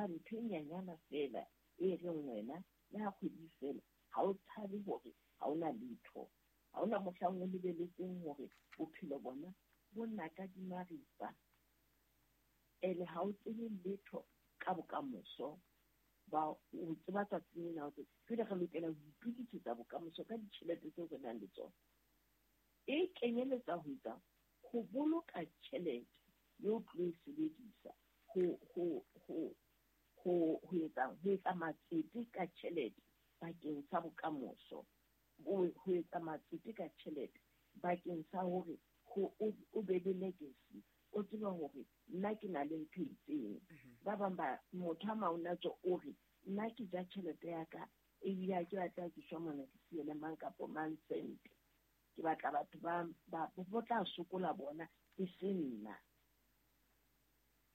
ba ntho e nyanyana feela e reng wena le ha kgwedi fela ha o tshabe hore ha ona letho, ha ona mohlang o lebeletseng hore bophelo bona bo naka di maripa. Ene ha o tsebe letho ka bokamoso, ba o tseba tsatsing lena hore jwale re lokela ho itokisetsa bokamoso ka ditjhelete tseo re nang le tsona. E kenyeletsa ho etsa ho boloka tjhelete eo tlo e sebedisa ho etsa matsete ka tjhelete bakeng sa bokamoso, ho etsa matsete ka tjhelete bakeng sa hore o be le legacy, o tsebe hore nna ke na le ntho e itseng. Ba bang ba motho a maonatso o re nna ke ja tjhelete ya ka ebile ha ke batla ke shwa mona ke siele mang kapo mang sente, ke batla batho ba bo tla sokola bona e se nna.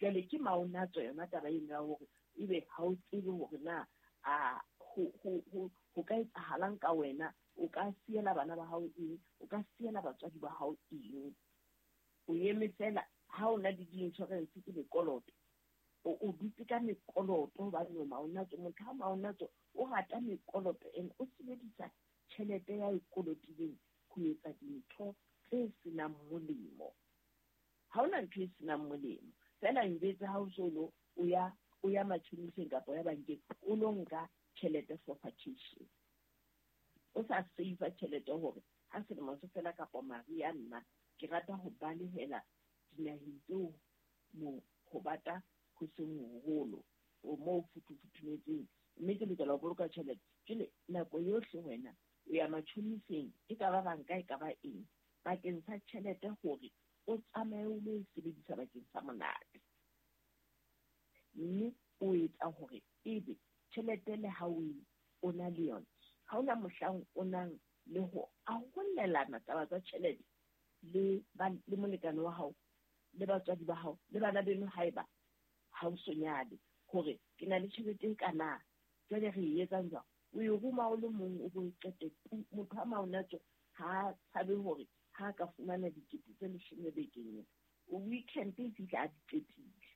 Jwale ke maonatso yona taba eno ya hore ebe ha o tsebe hore na a ho ka etsahalang ka wena, o ka siela bana ba hao eng, o ka siela batswadi ba hao eng. O eme fela ha o na le di-insurance ke mekoloto, o dutse ka mekoloto hobane o maonatso. Motho ha maonatso o rata mekoloto ene o sebedisa tjhelete ya e kolotileng ho etsa dintho tse senang molemo. Ha hona ntho e senang molemo, fela njwetse ha o so lo o ya matjhoniseng kapa ya bankeng o lo nka tjhelete for vacation, o sa save tjhelete hore ha selemo se fela kapa mariha nna ke rata ho balehela dinaheng tseo mo ho bata ho seng hoholo o moo futhufuthumetseng, mme ke lokela ho boloka tjhelete. Jwale nako yohle wena o ya matjhoniseng, e ka ba banka e ka ba eng, bakeng sa tjhelete hore o tsamaye o lo e sebedisa bakeng sa monate, mme o etsa hore ebe tjhelete le ha o na le yona, ha ona mohlang o nang le ho arolelana taba tsa tjhelete le molekane wa hao le batswadi ba hao le bana beno haeba ha o so nyale, hore ke na le tjhelete e kana, jwale re e etsang jwang? O e roma o le mong o bo e qete. Motho ha maonatso ha tshabe hore ha ka fumana 10 10 bekeng ena, o weekend e fihla a di qetile,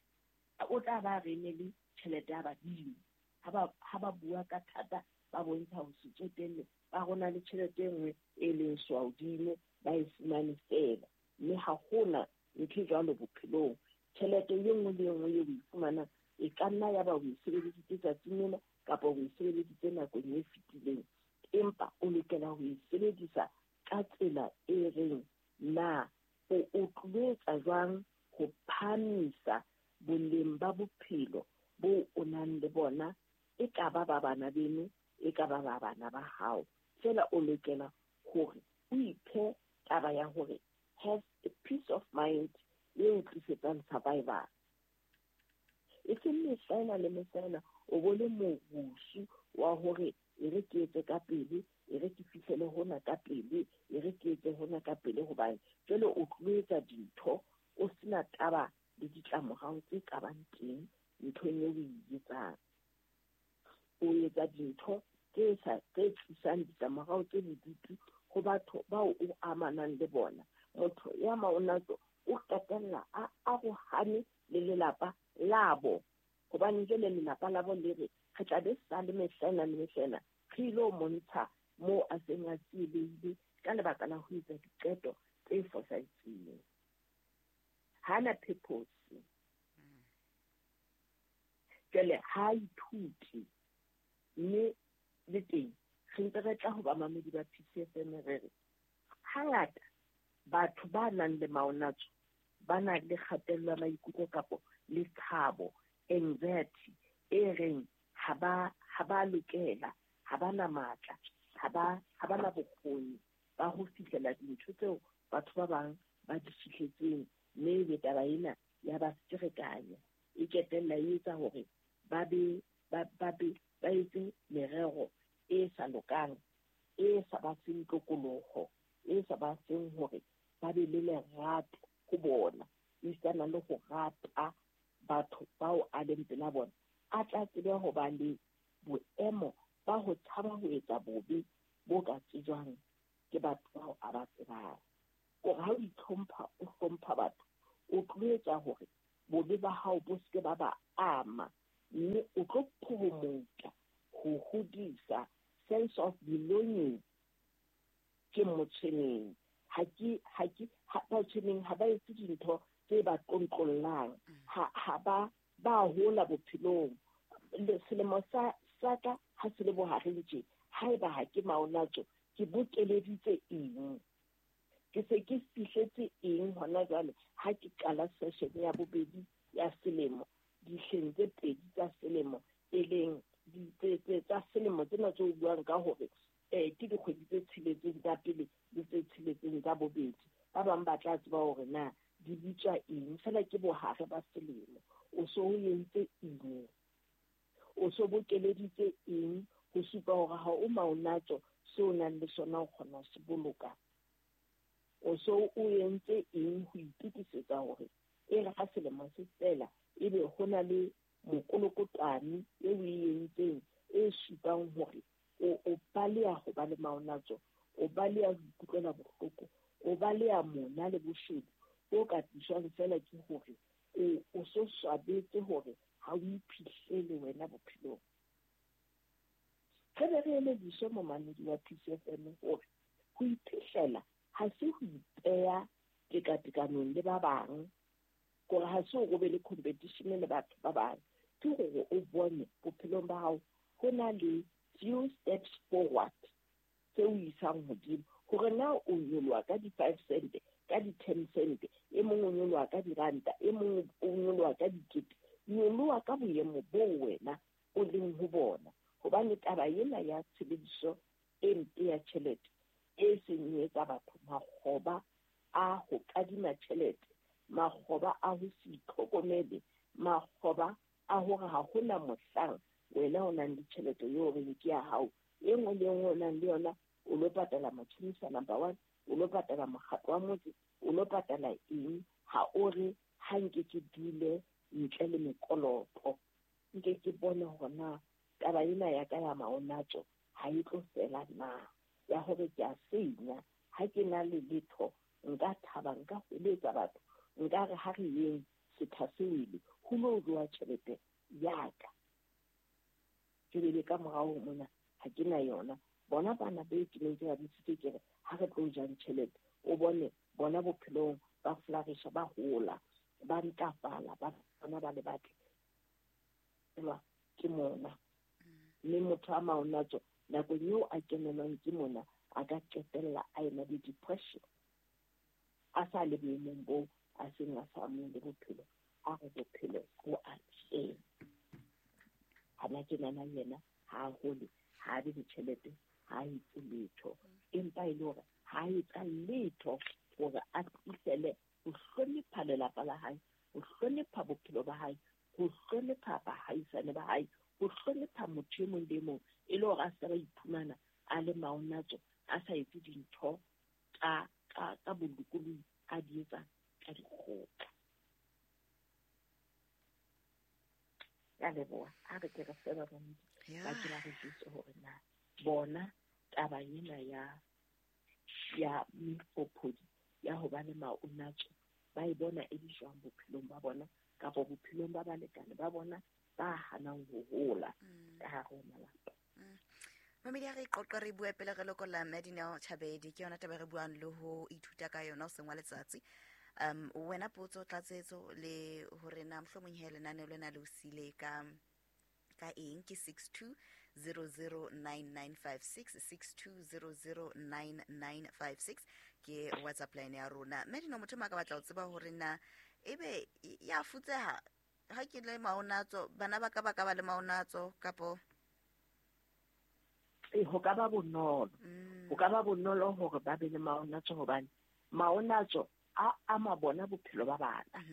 o tla ba re ne le tjhelete ya badimo. Ha ba bua ka thata ba bontsha ho se tsotelle, ba rona le tjhelete e nngwe e leng swaodimo ba e fumane fela, mme ha hona ntho e jwalo bophelong. Tjhelete e nngwe le e nngwe eo o e fumanang e ka nna ya ba o e sebedisitse tsatsing lena kapa o e sebedisitse nakong e fetileng, empa o lokela ho e sebedisa ka tsela e reng na o tlo etsa jwang ho phahamisa boleng ba bophelo bo o nang le bona, e ka ba ba bana beno, e ka ba ba bana ba hao. Fela o lokela hore o iphe taba ya hore have a peace of mind e o tlisetsang survival. E seng mehlaena le mehlaena o bo le morusu wa hore e re ke etse ka pele, e re ke fihlele hona ka pele, e re ke etse hona ka pele, hobane jwale o tlo etsa dintho o sena taba le ditlamorao tse ka bang teng nthong eo o e etsang. O etsa dintho tse tlisang ditlamorao tse bodutu ho batho bao o amanang le bona. Motho ya maonatso o qetella a arohane le lelapa labo, hobane jwale lelapa labo le re re tla be sa le mehlaena le mehlaena re ilo montsha moo a seng a tsielehile ka lebaka la ho etsa diqeto tse fosahetseng. Ha na purpose, jwale ha ithute, mme le teng re ntse re tla ho bamamedi ba PCFM re re hangata batho ba nang le maonatso ba na le kgatello ya maikutlo kapo le tshabo, anxiety e reng ha ba lokela, ha ba na matla, ha ba na bokgoni ba ho fihlela dintho tseo batho ba bang ba di fihletseng, mme ebe taba ena ya ba ferekanya, e qetella e etsa hore ba etse merero e sa lokang, e sa ba feng tokoloho, e sa ba feng hore ba be le lerato ho bona, esitana le ho rata batho bao a leng pela bona, a tla tsebe ho ba le boemo ba ho tshaba ho etsa bobe bo ka tsejwang ke batho bao a ba tsebang. Hore ha o itlhompha, o hlompha batho, o tlo etsa hore bobe ba hao bo seke ba ba ama. Mme o tlo promota ho hodisa sense of belonging. Ke motshweneng, ha ke ha ke ha batshweneng ha ba etse dintho tse ba tlontlollang, ha ba ba hola bophelong. Selemo sa ka ha se le bohareng tje, haeba ha ke maonatso, ke bokeleditse eng? Ke se ke fihletse eng hona jwale ha ke qala session ya bobedi ya selemo, dihleng tse pedi tsa selemo, e leng tsa selemo tsena tse o buang ka hore ke dikgwedi tse tsheletseng tsa pele le tse tsheletseng tsa bobedi. Ba bang ba tla tseba hore na di bitswa eng, fela ke bohare ba selemo. O so o entse eng? O so bokeleditse eng ho supa hore ha o maonatso seo o nang le sona o kgona ho se boloka? O so o entse eng ho itokisetsa hore e re ha selemo se fela ebe ho na le mokolokotwane e o e entseng e supang hore o baleha ho ba le maonatso, o baleha ho ikutlwela bohloko, o baleha mona le boshodu bo ka tliswang fela ke hore o so swabetse hore ha o iphihlele wena bophelong. Re be re elediswe momamedi wa Peace FM hore ho iphihlela ha se ho ipeha tekatekanong le ba bang, hore ha se hore o be le competition le batho ba bang, ke hore o bone bophelong ba hao ho na le few steps forward tse o isang hodimo, hore na o nyoloha ka di-5 cent, ka di-10 cent, e mong o nyoloha ka diranta, e mong o nyoloha ka dikete. Nyoloha ka boemo boo wena o leng ho bona, hobane taba ena ya tshebediso e mpe ya tjhelete e seng e etsa batho makgoba a ho kadima tjhelete, makgoba a ho se itlhokomele, makgoba a hore ha hona mohlang wena o nang le tjhelete eo reng ke ya hao. E nngwe le nngwe o nang le yona o lo patala matjhonisa number 1, o lo patala mokgatlo wa motse, o lo patala eng. Ha o re ha nke ke dule ntle le mekoloto, nke ke bone hore na taba ena ya ka ya maonatso ha e tlo fela na, ya hore ke a senya ha ke na le letho, nka thaba, nka hweletsa batho, nka re ha re yeng setha se wele ho lo jowa tjhelete ya ka. Ke bele ka morao mona ha ke na yona. Bona bana be ke neng ke ba bitsitse ke re ha re tlo jang tjhelete, o bone bona bophelong ba flourisha, ba hola, ba ntlafala, ba bona ba le batle ke mona. Mme motho a maonatso nakong eo a kenelwang ke mona a ka qetella a ena le depression, a sa le boemong boo a seng a sa amohele bophelo, a re bophelo bo a teng. Hana tjenana yena ha a hole, ha a be le tjhelete, ha a etse letho, empa e le hore ha a etsa letho hore a fihlele ho hlonepha lelapa la hae, ho hlonepha bophelo ba hae, ho hlonepha bahaisane ba hae, ho hlonepha motho e mong le mong, e le hore a se ba iphumana a le maonatso, a sa etse dintho ka bolokolohi, a di etsa ka dikgoka. Ka leboha. A re ke re fe ba bang ba ke ba re jwetse hore na bona taba ena ya mefophodi ya ho ba le maonatso ba e bona e le jwang bophelong ba bona kapa bophelong ba balekane ba bona ba hanang ho hola ka hare ho malapa. Mamedi, ha re qoqa re bua pele re lokolla Madineo Chabedi, ke yona taba re buang le ho ithuta ka yona o seng wa letsatsi. Wena potso tlatsetso le hore na mohlomong he lenaneo lena le o sile ka eng, ke 62009956, 62009956 ke WhatsApp line ya rona. Madineo, motho ma ka batla ho tseba hore na ebe ya futseha ha ke le maonatso, bana ba ka ba ka ba le maonatso kapo ho ka ba bonolo. Ho ka ba bonolo hore ba be le maonatso, hobane maonatso a ama bona bophelo ba bana.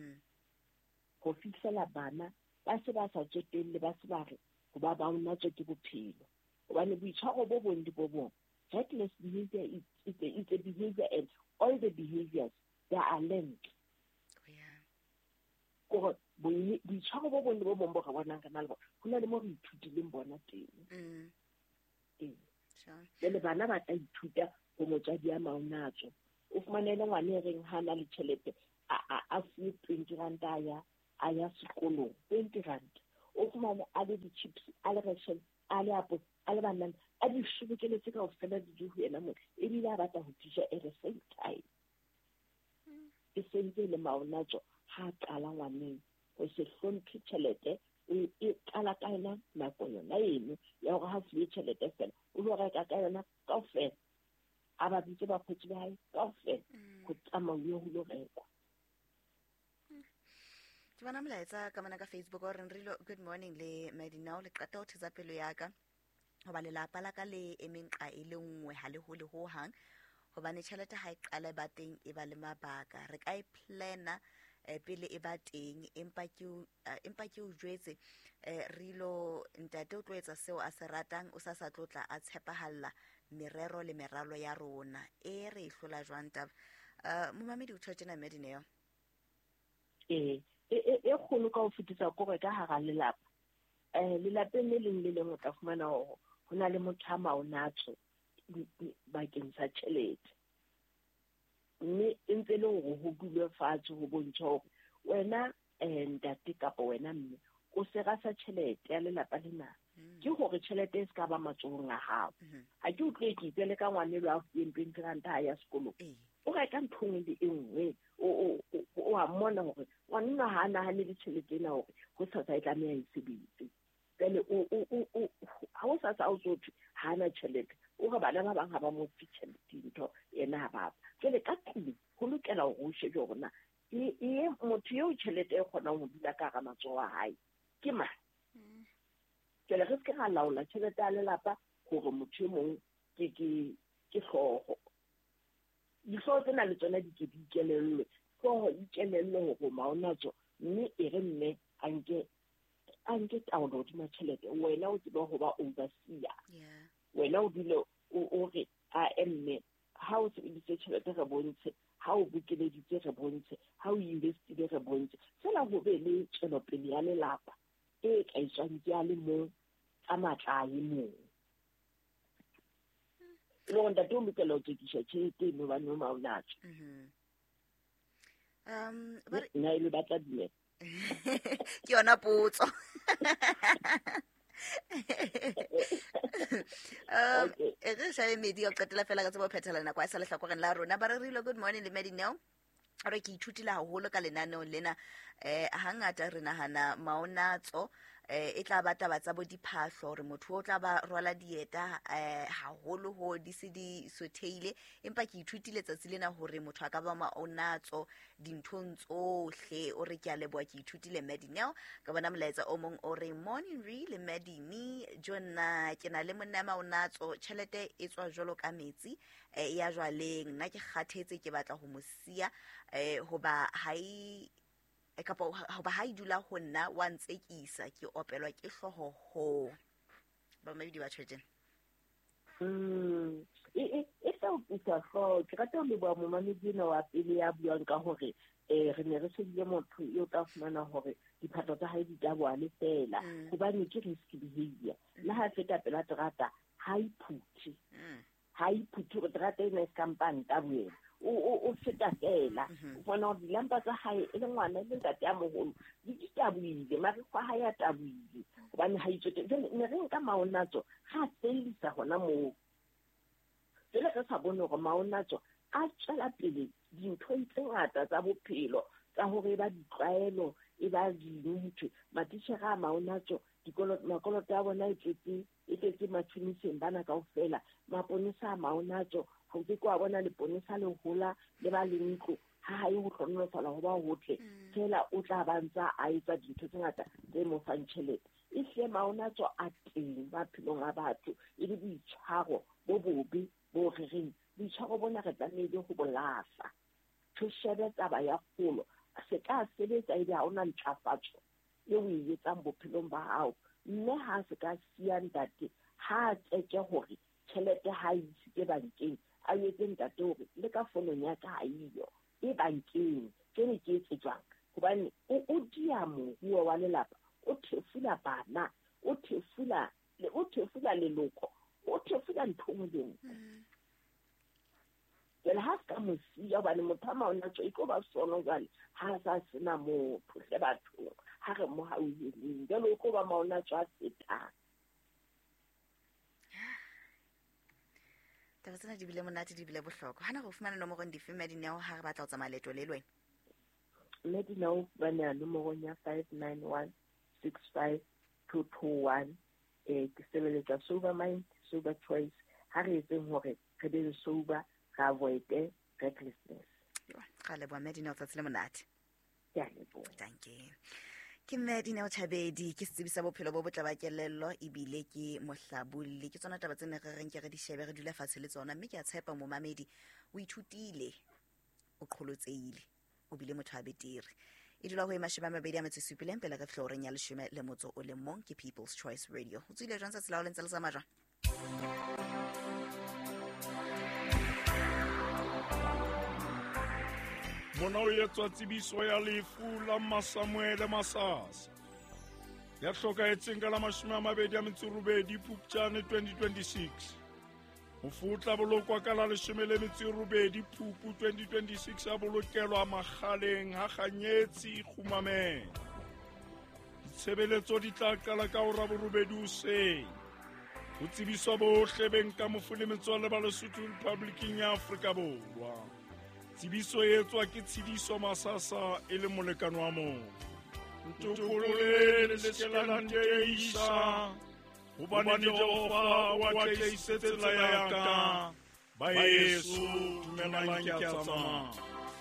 Ho fihlela bana ba se ba sa tsotelle, ba se ba re ho ba maonatso ke bophelo. Hobane boitshwaro bo bong le bo bong, reckless behavior is a behavior, and all the behaviors they are linked. Kore boitshwaro bo bong le bo bong bo re bonang re na le bona, ho na le mo re ithutileng bona teng. Jwale bana ba tla ithuta ho motswadi ya maonatso. O fumanele ngwana e reng ha na le tjhelete a fuwe 20 rand a ya sekolong, 20 rand. O fumane a le di-chips, a le reshele, a le apole, a le banana, a di sobokeletse kaofela di di ho yena mona, ebile a batla ho di ja at the same time. E sentse e le maonatso ha a qala ngwaneng ho se hlomphe tjhelete. E qala ka yona nako yona eno ya hore ha fuwe tjhelete fela o lo reka ka yona kaofela, a ba bitse bakgotsi ba hae kaofela ho tsamauwe ho lo rekwa. Ke bona molaetsa ka mona ka Facebook o reng Rilo, good morning le Madinao, le qeta ho thetsa pelo ya ka hoba lelapa la ka le emeng qa e le nngwe ha le hole ho hang, hobane tjhelete ha e qale ba teng e ba le mabaka. Re ka e plana pele e ba teng, empa ke o jwetse Rilo, ntate o tlo etsa seo a se ratang, o sa tlotla a tshepahalla merero le meralo ya rona. E re e hlola jwang taba? Momamedi o tjho tjena Madineo. E kgolo ka ho fetisa kore ka hara lelapa. Lelapeng le leng le leng o tla fumana hore ho na le motho a maonatso bakeng sa tjhelete. Mme e ntse le hore ho dulwe fatshe ho bontsha hore wena ntate kapa wena mme o sera sa tjhelete ya lelapa lena. Ke hore tjhelete e se ka ba matsohong a hao. Ha ke utlwe ke itse le ka ngwanelo a fuweng 20 rand ha ya sekolong. O reka ntho nngwe le e nngwe, o a mmona hore ngwanenwa ha a nahane le tjhelete ena hore ho sasa e tlameha e sebetse. Jwale ha o sasa o tso thwe ha ana tjhelete, o re bana ba bang ha ba mo fe tjhelete ntho yena ha ba fa. Jwale ka tlung ho lokela hore o shebe hore na e motho eo tjhelete e kgonang ho dula ka hara matsoho a hae ke mang. Jwale re se ke ra laola tjhelete ya lelapa hore motho e mong ke hlooho. Dihlooho tsena le tsona di ke di ikelellwe, hlooho ikelellwe hore maonatso, mme e re mme a nke taolo hodima tjhelete. Wena o tsebe ho ba overseer. Wena o dule o re a mme ha o sebedisitse tjhelete re bontshe, ha o bokeleditse re bontshe, ha o investile re bontshe. Fela ho be le tswelopele ya lelapa e ka etswang ke a le mong ka matla a e mong. Le hore ntate o lokela ho tsekisha tjhelete eno hobane o maonatso. Nna e le batla dumela. Ke yona potso. Re shabe medi ka qetela fela ka tsebo phethela nako a sa lehlakoreng la rona. Ba re Rilo, good morning le Madineo. Re ke ithutile haholo ka lenaneong lena. Hangata re nahana maonatso e tla ba taba tsa bo diphahlo, hore motho o tla ba rwala dieta haholo ho di se di sotheile, empa ke ithutile tsatsi lena hore motho a ka ba maonatso dinthong tsohle. O re ke a leboha, ke ithutile Madineo. Ka bona molaetsa o mong o re morning re le Madini, jonna ke na le monna maonatso, tjhelete e tswa jwalo ka metsi ya jwaleng, nna ke kgathetse, ke batla ho mo siya hoba ha e kapa hoba ha e dula ho nna wa ntsekisa, ke opelwa ke hlooho ho. Ba mabidi ba tjhetje. E tla o pisa hlooho. Ke rata ho leboha momamedi ena wa pele ya buang ka hore re ne re shebile motho eo tla fumana hore diphatlo tsa hae di tabohale fela, hobane ke risk behavior. Le ha feta pela terata ha iphuthe. Ha iphuthe hore terata ena e se ka mpa nta boyena. O feta fela. O bona hore dilampa tsa hae e le ngwana e le ntate a moholo di tabohile, marikgwe a hae a tabohile hobane ha itsote. Jwale ne re nka maonatso ra fellisa hona moo. Jwale re sa bone hore maonatso a tswela pele dinthong tse ngata tsa bophelo, tsa hore e ba ditlwaelo, e ba dintho. Matitjhere a maonatso, makoloto a bona e tletse matjhoniseng bana kaofela. Maponesa a maonatso, ha o ke ke wa bona leponesa le hola le ba le ntlo, ha hae ho hlohonolofala ho ba hotle. Fela o tla ba ntsa a etsa dintho tse ngata tse mo fang tjhelete. Ehlile maonatso a teng maphelong a batho, e le boitshwaro bo bobe bo re reng boitshwaro bona re tlamehile ho bo lahla. Re shebe taba ya kgolo, se ka sebetsa ebe ha ona ntlafatso eo o e etsang bophelong ba hao. Mme ha se ka siya ntate, ha tseke hore tjhelete ha e isitse bankeng, a etse ntate hore le ka fonong ya ka ha eyo, e bankeng, ke ne ke etse jwang? Hobane o dia moruo wa lelapa, o thefula bana, o thefula leloko, o thefula ntho e nngwe le nngwe. Jwale ha se ka mo siya, hobane motho a maonatso e tlo ba sono jwale ha a sa sena motho hle bathong. Ha re mo hauheleng jwale o tlo ba maona tswa fetang. Taba tsena di bile monate, di bile bohlokwa. Hana go fumana nomorong dife, Mme Dineo, ha re batla ho tsamaya leeto le le wena? Mme Dineo fumaneha nomorong ya 59165221. Ke sebeletsa Sober Mind, Sober Choice. Ha re etseng hore re be le sober, re avoid-e recklessness. Ra leboha, Mme Dineo, tsatsi le monate. Ke a leboha. Dankie. Ke Mme Dineo Chabedi, ke setsebi sa bophelo bo botle ba kelello ebile ke mohlabolli. Ke tsona taba tse ne re reng ke re di shebe, re dule fatshe le tsona, mme ke a tshepa momamedi o ithutile, o qholotsehile, o bile motho a betere. E dula ho e 27 pele re fihla horeng ya 11, ke People's Choice Radio. O tswile jwang tsatsi la hao le ntse le tsamaya jwang? Mona o etswa tsebiso ya lefu la Masamuele Masasa ya hlokahetseng ka la 28 Phupjane 2026. Mofu o tla bolokwa ka la 18 Phupu 2026, a bolokelwa Makgaleng ha Kganyetsi Kgumameng. Ditshebeletso di tla qala ka hora 8 hoseng. Ho tsebiswa bohle beng ka mofu le metswalle ba Lesotho Republiking ya Afrika Borwa. Tsebiso e etswa ke Tshidiso Masasa e le molekane wa mofu. Ntokolole le se ke la nteisa, hobane Jehova o atlehisitse tsela ya ka. Baeso, dumelang ke a tsamaya.